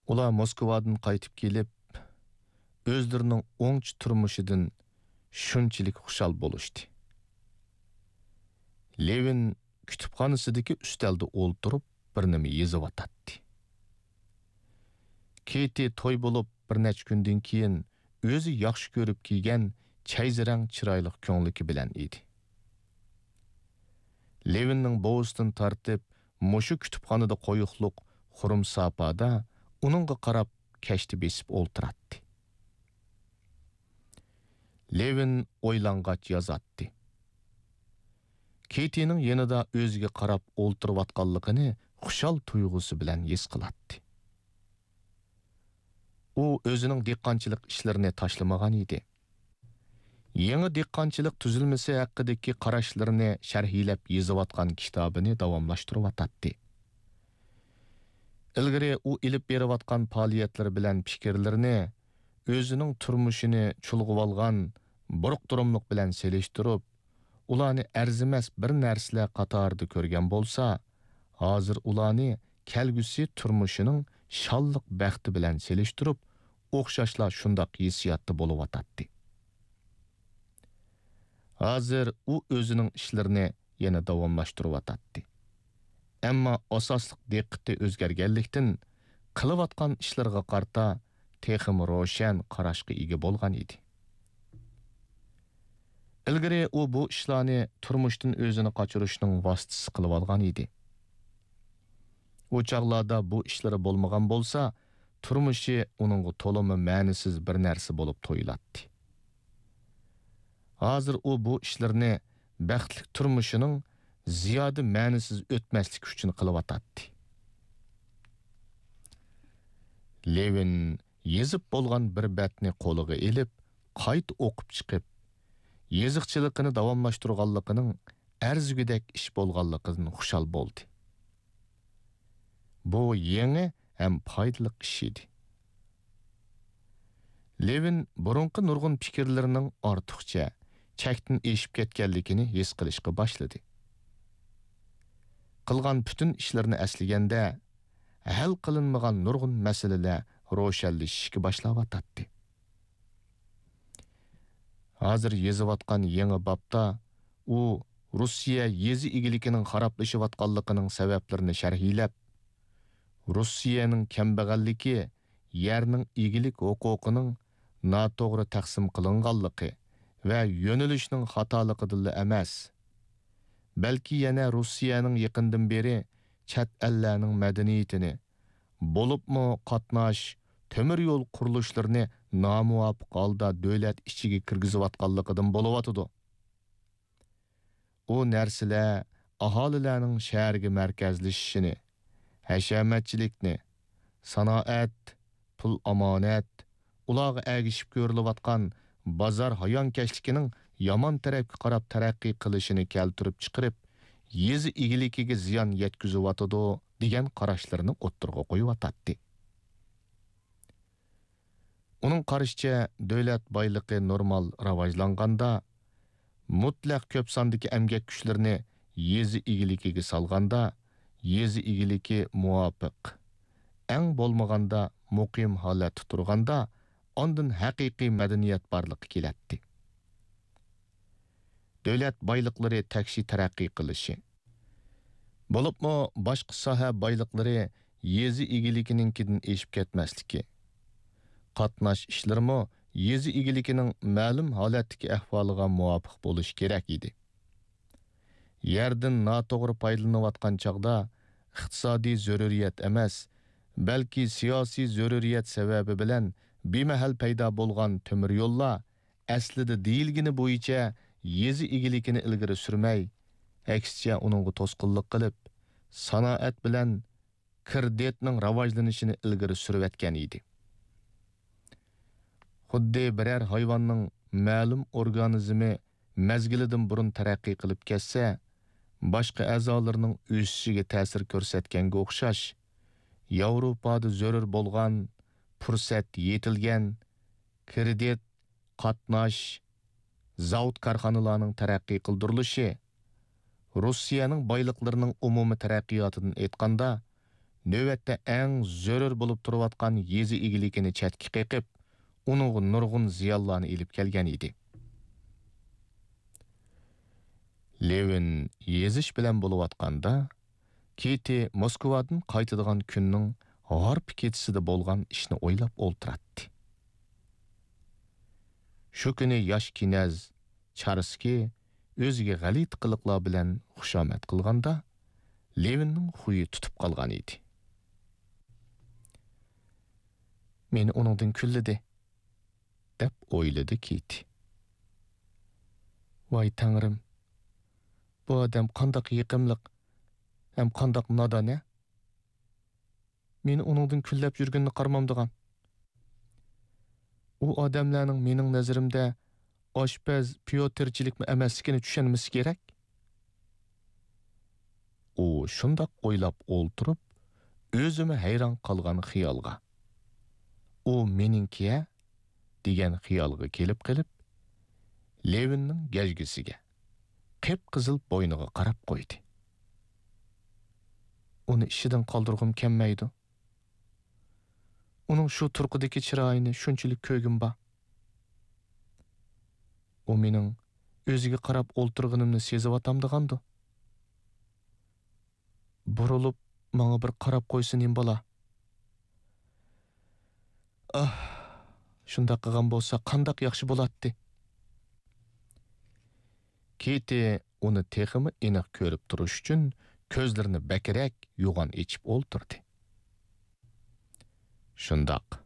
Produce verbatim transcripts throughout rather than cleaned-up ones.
ئۇلار موسكۋادىن قايتىپ كېلىپ، ئۆزلىرىنىڭ ئوڭچە تۇرمۇشىدىن شۇنچىلىك خۇشال بولۇشتى. لېۋىن كۇتۇپخانىسىدىكى ئۈستەلدە ئولتۇرۇپ، بىر نېمە يېزىۋاتاتتى. كېتى توي بولۇپ، بىر نەچچە كۈندىن كېيىن ئۆزى ياخشى كۆرۈپ كىيگەن چەيزىرەڭ چىرايلىق كۆڭلىكى بىلەن ئىدى. لېۋىننىڭ بوۋىسىدىن تارتىپ مۇشۇ كۇتۇپخانىدا قويۇقلۇق خۇرۇم ساپادا ئۇنىڭغا قاراپ كەشتە بېسىپ ئولتۇراتتى. لېۋىن ئويلانغاچ يازاتتى. كېتىنىڭ يېنىدا ئۆزىگە قاراپ ئولتۇرۇۋاتقانلىقىنى خۇشال تۇيغۇسى بىلەن ھېس قىلاتتى. ئۇ ئۆزىنىڭ دېھقانچىلىق ئىشلىرىنى تاشلىمىغان ئىدى. يېڭى دېھقانچىلىق تۈزۈلمىسى ھەققىدىكى قاراشلىرىنى شەرھلەپ يېزىۋاتقان كىتابىنى داۋاملاشتۇرۇۋاتاتتى. ئىلگىرى ئۇ ئېلىپ بېرىۋاتقان پائالىيەتلىرى بىلەن پىكىرلىرىنى ئۆزىنىڭ تۇرمۇشىنى چۇلغىۋالغان بۇرۇق-تۇرۇملۇق بىلەن سېلىشتۇرۇپ، ئۇلارنى ئەرزىمەس بىر نەرسىلەر قاتارىدا كۆرگەن بولسا، ھازىر ئۇلارنى كەلگۈسى تۇرمۇشىنىڭ شانلىق بەختى بىلەن سېلىشتۇرۇپ، ئوخشاشلا شۇنداق ھېسسىياتتا بولۇۋاتاتتى. ھازىر ئۇ ئۆزىنىڭ ئىشلىرىنى يەنە داۋاملاشتۇرۇۋاتاتتى. ئەمما ئاساسلىق دىققىتى ئۆزگەرگەنلىكتىن، قىلىۋاتقان ئىشلىرىغا قارىتا تېخىمۇ روشەن قاراشقا ئىگە بولغان ئىدى. ئىلگىرى ئۇ بۇ ئىشلارنى تۇرمۇشتىن ئۆزىنى قاچۇرۇشنىڭ ۋاسىتىسى قىلىۋالغان ئىدى. ئۇ چاغلاردا بۇ ئىشلىرى بولمىغان بولسا، تۇرمۇشى ئۇنىڭغا تولىمۇ مەنىسىز بىر نەرسە بولۇپ تۇيۇلاتتى. ھازىر ئۇ بۇ ئىشلىرىنى بەختلىك تۇرمۇشىنىڭ زىيادە مەنىسىز ئۆتمەسلىكى ئۈچۈن قىلىۋاتاتتى. لېۋىن يېزىپ بولغان بىر بەتنى قولىغا ئېلىپ، قايتا ئوقۇپ چىقىپ، يېزىقچىلىقىنى داۋاملاشتۇرغانلىقىنىڭ ئەرزىگۈدەك ئىش بولغانلىقىدىن خۇشال بولدى. بۇ يېڭى ھەم پايدىلىق ئىش ئىدى. لېۋىن بۇرۇنقى نۇرغۇن پىكىرلىرىنىڭ ئارتۇقچە، چەكتىن ئېشىپ كەتكەنلىكىنى ھېس قىلىشقا باشلىدى. قىلغان پۈتۈن ئىشلىرىنى ئەسلىگەندە، ھەل قىلىنمىغان نۇرغۇن مەسىلىلەر روشەنلىشىشكە باشلاۋاتاتتى. ھازىر يېزىۋاتقان يېڭى بابتا ئۇ روسىيە يېزا ئىگىلىكىنىڭ خارابلىشىۋاتقانلىقىنىڭ سەۋەبلىرىنى شەرھلەپ، روسىيەنىڭ كەمبەغەللىكى يەرنىڭ ئىگىلىك ھوقۇقىنىڭ ناتوغرا تەقسىم قىلىنغانلىقى ۋە يۆنىلىشنىڭ خاتالىقىدىنلا ئەمەس، بەلكى يەنە روسىيەنىڭ يېقىندىن بېرى چەت ئەللەرنىڭ مەدەنىيىتىنى، بولۇپمۇ قاتناش، تۆمۈر يول قۇرۇلۇشلىرىنى نامۇۋاپىق ھالدا دۆلەت ئىچىگە كىرگۈزۈۋاتقانلىقىدىن بولۇۋاتىدۇ. ئۇ نەرسىلەر ئاھالىلەرنىڭ شەھەرگە مەركەزلىشىشىنى، ھەشەمەتچىلىكنى، سانائەت، پۇل ئامانەت، ئۇلارغا ئەگىشىپ كۆرۈلۈۋاتقان بازار ھايانكەشلىكىنىڭ يامان تەرەپكە قاراپ تەرەققىي قىلىشىنى كەلتۈرۈپ چىقىرىپ، يېزا ئىگىلىكىگە زىيان يەتكۈزۈۋاتىدۇ، دېگەن قاراشلىرىنى ئوتتۇرىغا قويۇۋاتاتتى. ئۇنىڭ قارىشىچە، دۆلەت بايلىقى نورمال راۋاجلانغاندا، مۇتلەق كۆپ ساندىكى ئەمگەك كۈچلىرىنى يېزا ئىگىلىكىگە سالغاندا، يېزا ئىگىلىكى مۇۋاپىق، ئەڭ بولمىغاندا مۇقىم ھالەتتە تۇرغاندا، ئاندىن ھەقىقىي مەدەنىيەت بارلىققا كېلەتتى. دۆلەت بايلىقلىرى تەكشى تەرەققىي قىلىشى، بولۇپمۇ باشقا ساھە بايلىقلىرى يېزا ئىگىلىكىنىڭكىدىن ئېشىپ كەتمەسلىكى، قاتناش ئىشلىرىمۇ يېزا ئىگىلىكىنىڭ مەلۇم ھالەتتىكى ئەھۋالىغا مۇۋاپىق بولۇشى كېرەك ئىدى. يەردىن ناتوغرا پايدىلىنىۋاتقان چاغدا ئىقتىسادىي زۆرۈرىيەت ئەمەس، بەلكى سىياسىي زۆرۈرىيەت سەۋەبى بىلەن بىمەھەل پەيدا بولغان تۆمۈر يوللار ئەسلىدە دېيىلگىنى بويىچە يېزا ئىگىلىكىنى ئىلگىرى سۈرمەي، ئەكسىچە ئۇنىڭغا توسقۇنلۇق قىلىپ، سانائەت بىلەن كىردىتنىڭ راۋاجلىنىشىنى ئىلگىرى سۈرۈۋەتكەن ئىدى. خۇددى بىرەر ھايۋاننىڭ مەلۇم ئورگانىزمى مەزگىلىدىن بۇرۇن تەرەققىي قىلىپ كەتسە، باشقا ئەزالىرىنىڭ ئۆسۈشىگە تەسىر كۆرسەتكەنگە ئوخشاش، ياۋروپادا زۆرۈر بولغان، پۇرسەت يېتىلگەن، كىردىت، قاتناش، زاۋۇت-كارخانىلارنىڭ تەرەققىي قىلدۇرۇلۇشى، روسىيەنىڭ بايلىقلىرىنىڭ ئومۇمىي تەرەققىياتىدىن ئېيتقاندا، نۆۋەتتە ئەڭ زۆرۈر بولۇپ تۇرۇۋاتقان يېزا ئىگىلىكىنى چەتكە قېقىپ، ئۇنىڭغا نۇرغۇن زىيانلارنى ئېلىپ كەلگەن ئىدى. لېۋىن يېزىش بىلەن بولۇۋاتقاندا، كېتى موسكۋادىن قايتىدىغان كۈننىڭ ھارپا كېچىسىدە بولغان ئىشنى ئويلاپ ئولتۇراتتى. شۇ كۈنى ياش كىنەز چارسكىي ئۆزىگە غەلىتە قىلىقلار بىلەن خۇشامەت قىلغاندا، لېۋىننىڭ خۇيى تۇتۇپ قالغان ئىدى. «مېنى ئۇنىڭدىن كۈنلىدى» دەپ ئويلىدى كېتى. «ۋاي تەڭرىم، بۇ ئادەم قانداق يېقىملىق ھەم قانداق نادان-ە! مېنى ئۇنىڭدىن كۈنلەپ يۈرگىنىنى قارىمامدىغان. ئۇ ئادەملەرنىڭ مېنىڭ نەزىرىمدە ئاشپەز، پيوتىرچىلىكمۇ ئەمەسلىكىنى چۈشەنمىسە كېرەك.» ئۇ شۇنداق ئويلاپ ئولتۇرۇپ، ئۆزىمۇ ھەيران قالغان خىيالغا، «ئۇ مېنىڭكى-ھە» دېگەن خىيالغا كېلىپ قېلىپ، لېۋىننىڭ گەجگىسىگە، قىپقىزىل بوينىغا قاراپ قويدى. «ئۇنى ئىشىدىن قالدۇرغۇم كەلمەيدۇ. ئۇنىڭ شۇ تۇرقىدىكى چىرايىنى شۇنچىلىك كۆرگۈم بار. ئۇ مېنىڭ ئۆزىگە قاراپ ئولتۇرغىنىمنى سېزىۋاتامدىغاندۇ؟ بۇرۇلۇپ، ماڭا بىر قاراپ قويسا نېمە بولا؟ ئاھ، شۇنداق قىلغان بولسا قانداق ياخشى بولاتتى!» كېتى ئۇنى تېخىمۇ ئېنىق كۆرۈپ تۇرۇش ئۈچۈن كۆزلىرىنى بەكرەك يوغان ئېچىپ ئولتۇردى. «شۇنداق.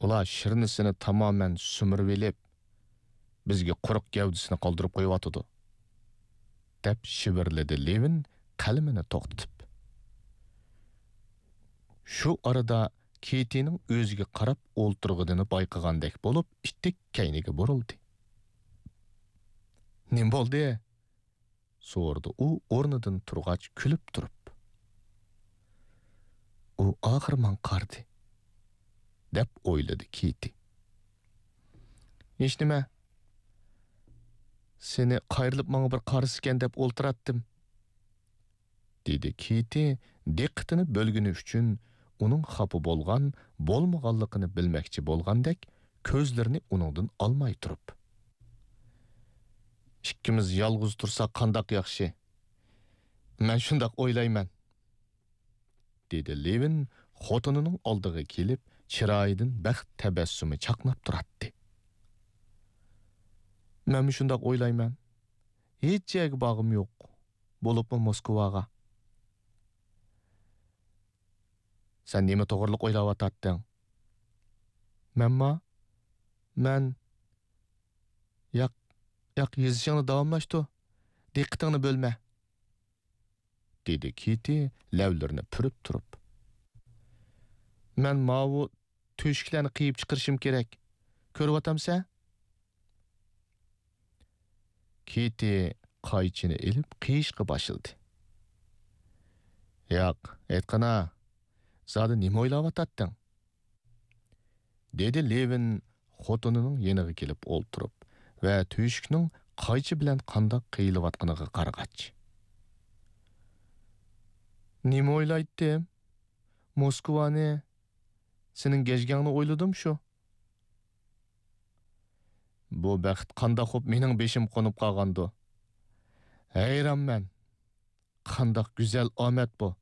ئۇلار شىرنىسىنى تامامەن سۈمۈرۈۋېلىپ، بىزگە قۇرۇق گەۋدىسىنى قالدۇرۇپ قويۇۋاتىدۇ»، دەپ شىۋىرلىدى لېۋىن قەلىمىنى توختىتىپ. شۇ ئارىدا كېتىنىڭ ئۆزىگە قاراپ ئولتۇرغىنىنى بايقىغاندەك بولۇپ، ئىتتىك كەينىگە بۇرۇلدى. «نېمە بولدى؟» سورىدى ئۇ ئورنىدىن تۇرغاچ كۈلۈپ تۇرۇپ. «ئۇ ئاخىر ماڭا قارىدى» دەپ ئويلىدى كېتى. «ھېچنېمە، سېنى قايرىلىپ ماڭا بىر قارىسىكەن دەپ ئولتۇراتتىم»، دېدى كېتى دىققىتىنى بۆلگىنى ئۈچۈن ئۇنىڭ خاپا بولغان، بولمىغانلىقىنى بىلمەكچى بولغاندەك كۆزلىرىنى ئۇنىڭدىن ئالماي تۇرۇپ. «ئىككىمىز يالغۇز تۇرساق قانداق ياخشى. مەن شۇنداق ئويلايمەن»، دېدى لېۋىن خوتۇنىنىڭ ئالدىغا كېلىپ، چىرايىدىن بەخت تەبەسسۇمى چاقناپ تۇراتتى. «مەنمۇ شۇنداق ئويلايمەن. ھېچ يەرگە بارغۇم يوق، بولۇپمۇ موسكۋاغا.» «سەن نېمە توغرىلىق ئويلاۋاتاتتىڭ؟» «مەنما؟ مەن...» «ياق، ياق، يېزىشىڭنى داۋاملاشتۇر. دىققىتىڭنى بۆلمە.» دېدى كېتى لەۋلىرىنى پۈرۈپ تۇرۇپ. «مەن ماۋۇ تۆشۈكلەرنى قىيىپ چىقىرىشىم كېرەك. كۆرۈۋاتامسەن؟» كېتى قايچىنى ئېلىپ قىيىشقا باشلىدى. «ياق، ئېيتقىنا، زادى نېمە ئويلاۋاتاتتىڭ؟» دېدى لېۋىن خوتۇنىنىڭ يېنىغا كېلىپ ئولتۇرۇپ ۋە تۆشۈكنىڭ قايچا بىلەن قانداق قىيىلىۋاتقىنىغا قارىغاچ. «نېمە ئويلايتتىم؟ موسكۋانى، سېنىڭ گەجگەڭنى ئويلىدىم شۇ.» «بۇ بەخت قانداق بولۇپ مېنىڭ بېشىمغا قونۇپ قالغاندۇ؟ ھەيرانمەن. قانداق گۈزەل ئامەت بۇ!»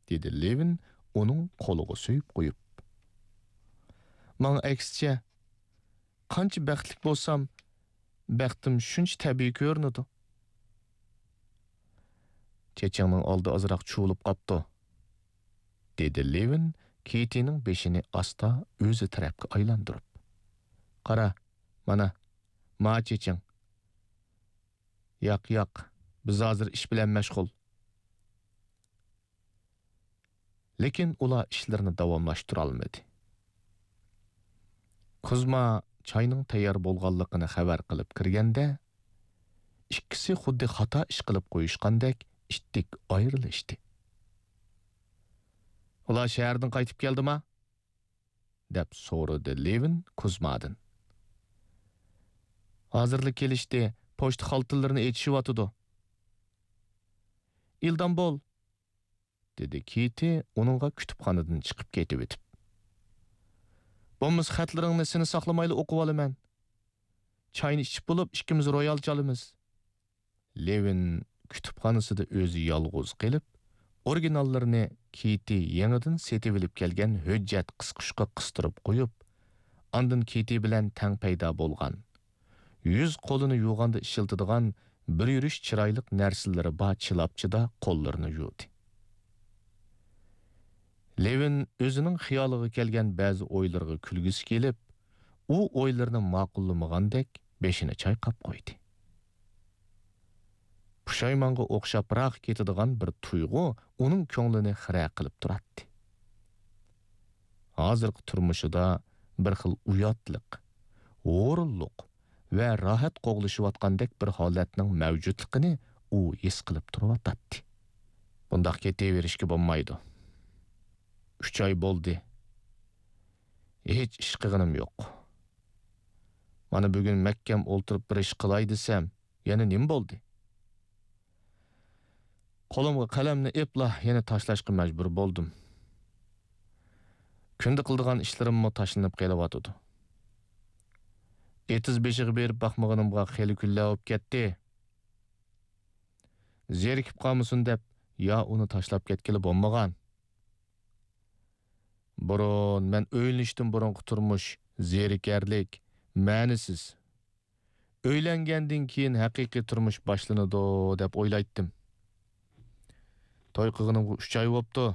دېدى لېۋىن ئۇنىڭ قولىغا سۆيۈپ قويۇپ. «ماڭا ئەكسىچە، قانچە بەختلىك بولسام، بەختىم شۇنچە تەبىئىي كۆرۈنىدۇ.» «چېچىڭنىڭ ئالدى ئازراق چۇۋۇلۇپ قاپتۇ»، دېدى لېۋىن كېتىنىڭ بېشىنى ئاستا ئۆزى تەرەپكە ئايلاندۇرۇپ. «قارا، مانا، ما چېچىڭ.» «ياق، ياق، بىز ھازىر ئىش بىلەن مەشغۇل.» لېكىن ئۇلار ئىشلىرىنى داۋاملاشتۇرالمىدى. كۇزما چاينىڭ تەييار بولغانلىقىنى خەۋەر قىلىپ كىرگەندە، ئىككىسى خۇددى خاتا ئىش قىلىپ قويۇشقاندەك ئىتتىك ئايرىلىشتى. «ئۇلار شەھەردىن قايتىپ كەلدىما؟» دەپ سورىدى لېۋىن كۇزمادىن. «ھازىرلا كېلىشتى، پوچتا خالتىلىرىنى ئېچىشىۋاتىدۇ.» «ئىلدام بول!» دېدى كىتى ئۇنىڭغا كۇتۇپخانىدىن چىقىپ كېتىۋېتىپ. بولمىسا خەتلىرىڭنى سېنى ساقلىمايلا ئوقۇۋالىمەن. چاينى ئىچىپ بولۇپ، ئىككىمىز رويال چالىمىز. لېۋىن كۇتۇپخانىسىدا ئۆزى يالغۇز قېلىپ، ئورىگىناللىرىنى كىتى يېڭىدىن سېتىۋېلىپ كەلگەن ھۆججەت قىسقۇچقا قىستۇرۇپ قويۇپ، ئاندىن كىتى بىلەن تەڭ پەيدا بولغان، يۈز قولىنى يۇغاندا ئىشلىتىدىغان بىر يۈرۈش چىرايلىق نەرسىلىرى بار چىلاپچىدا قوللىرىنى يۇدى. لېۋىن ئۆزىنىڭ خىيالىغا كەلگەن بەزى ئويلىرىغا كۈلگۈسى كېلىپ، ئۇ ئويلىرىنى ماقۇللىمىغاندەك بېشىنى چايقاپ قويدى. پۇشايمانغا ئوخشاپراق كېتىدىغان بىر تۇيغۇ ئۇنىڭ كۆڭلىنى خىرە قىلىپ تۇراتتى. ھازىرقى تۇرمۇشىدا بىر خىل ئۇياتلىق، ھۇرۇنلۇق ۋە راھەت قوغلىشىۋاتقاندەك بىر ھالەتنىڭ مەۋجۇتلۇقىنى ئۇ ھېس قىلىپ تۇرۇۋاتاتتى. بۇنداق كېتىۋېرىشكە بولمايدۇ. ئۈچ ئاي بولدى. ھېچ ئىش قىلغىنىم يوق. مانا بۈگۈن مەھكەم ئولتۇرۇپ بىر ئىش قىلاي دېسەم، يەنە نېمە بولدى؟ قولۇمغا قەلەمنى ئېپلا يەنە تاشلاشقا مەجبۇر بولدۇم. كۈندە قىلىدىغان ئىشلىرىممۇ تاشلىنىپ قېلىۋاتىدۇ. ئېتىز بېشىغا بېرىپ باقمىغىنىمغا خېلى كۈنلەر بولۇپ كەتتى. زېرىكىپ قالمىسۇن دەپ، يا ئۇنى تاشلاپ كەتكىلى بولمىغان. بۇرۇن مەن ئۆيلىنىشتىن بۇرۇنقى تۇرمۇش زېرىكەرلىك، مەنىسىز. ئۆيلەنگەندىن كېيىن ھەقىقىي تۇرمۇش باشلىنىدۇ دەپ ئويلايتتىم. توي قىلغىنىمغا ئۈچ ئاي بوپتۇ.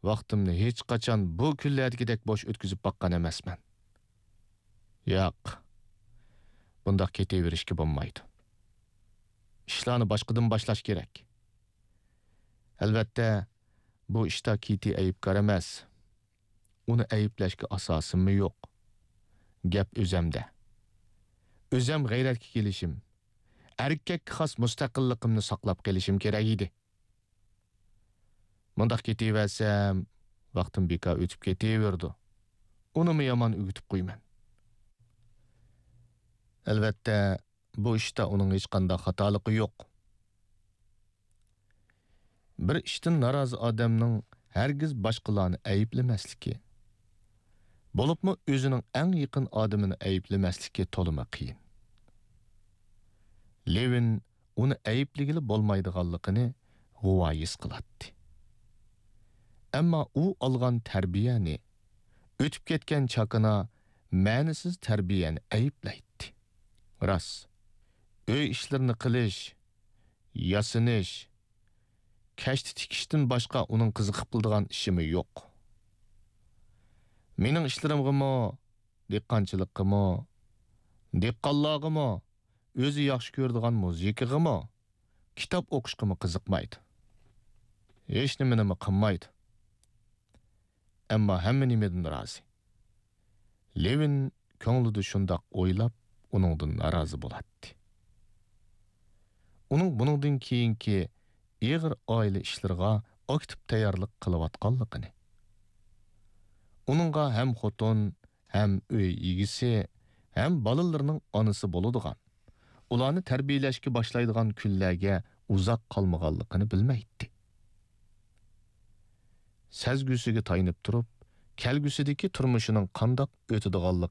ۋاقتىمنى ھېچقاچان بۇ كۈنلەردىكىدەك بوش ئۆتكۈزۈپ باققان ئەمەسمەن. ياق، بۇنداق كېتىۋېرىشكە بولمايدۇ. ئىشلارنى باشقىدىن باشلاش كېرەك. ئەلۋەتتە، بۇ ئىشتا كىتى ئەيىبكار ئەمەس. ئۇنى ئەيىبلەشكە ئاساسىممۇ يوق. گەپ ئۆزەمدە. ئۆزەم غەيرەتكە كېلىشىم، ئەركەككە خاس مۇستەقىللىقىمنى ساقلاپ قېلىشىم كېرەك ئىدى. مۇنداق كېتىۋەرسەم، ۋاقتىم بىكار ئۆتۈپ كېتىۋېرىدۇ. ئۇنىمۇ يامان ئۆگىتىپ قويىمەن. ئەلۋەتتە، بۇ ئىشتا ئۇنىڭ ھېچقانداق خاتالىقى يوق. بىر ئىشتىن نارازى ئادەمنىڭ ھەرگىز باشقىلارنى ئەيىبلىمەسلىكى، بولۇپمۇ ئۆزىنىڭ ئەڭ يېقىن ئادىمىنى ئەيىبلىمەسلىكى تولىمۇ قىيىن. لېۋىن ئۇنى ئەيىبلىگىلى بولمايدىغانلىقىنى غۇۋا ھېس قىلاتتى. ئەمما ئۇ ئالغان تەربىيەنى، ئۆتۈپ كەتكەن چاكىنا مەنىسىز تەربىيەنى ئەيىبلەيتتى. راست، ئۆي ئىشلىرىنى قىلىش، ياسىنىش، كەشتە تىكىشتىن باشقا ئۇنىڭ قىزىقىپ قىلىدىغان ئىشىمۇ يوق. مېنىڭ ئىشلىرىمغىمۇ، دېھقانچىلىققىمۇ، دېھقانلارغىمۇ، ئۆزى ياخشى كۆرىدىغان مۇزىكىغىمۇ، كىتاب ئوقۇشقىمۇ قىزىقمايدۇ. ھېچنېمىنىمۇ قىلمايدۇ. ئەمما ھەممە نېمىدىن رازى. لېۋىن كۆڭلىدە شۇنداق ئويلاپ، ئۇنىڭدىن نارازى بولاتتى. ئۇنىڭ بۇنىڭدىن كېيىنكى ئېغىر ئائىلە ئىشلىرىغا ئاكتىپ تەييارلىق قىلىۋاتقانلىقىنى، ئۇنىڭغا ھەم خوتۇن، ھەم ئۆي ئىگىسى، ھەم بالىلىرىنىڭ ئانىسى بولىدىغان، ئۇلارنى تەربىيەلەشكە باشلايدىغان كۈنلەرگە ئۇزاق قالمىغانلىقىنى بىلمەيتتى. سەزگۈسىگە تايىنىپ تۇرۇپ، كەلگۈسىدىكى تۇرمۇشىنىڭ قانداق ئۆتىدىغانلىقىنى